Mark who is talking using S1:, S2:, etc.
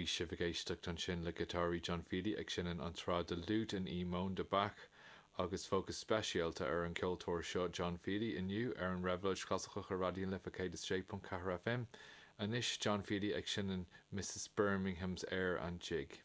S1: Bhí sibh ag éisteacht ansin le giotáraí John Feely ag seinm an tsraith de Lute in E Mode de Bach agus fócas speisialta ar an gceoltóir seo John Feely inniu ar an Réabhlóid Chlasaiceach ar Raidió na Life 106.4 FM. Anois John Feely ag seinm Mrs Birmingham's Air and Jig.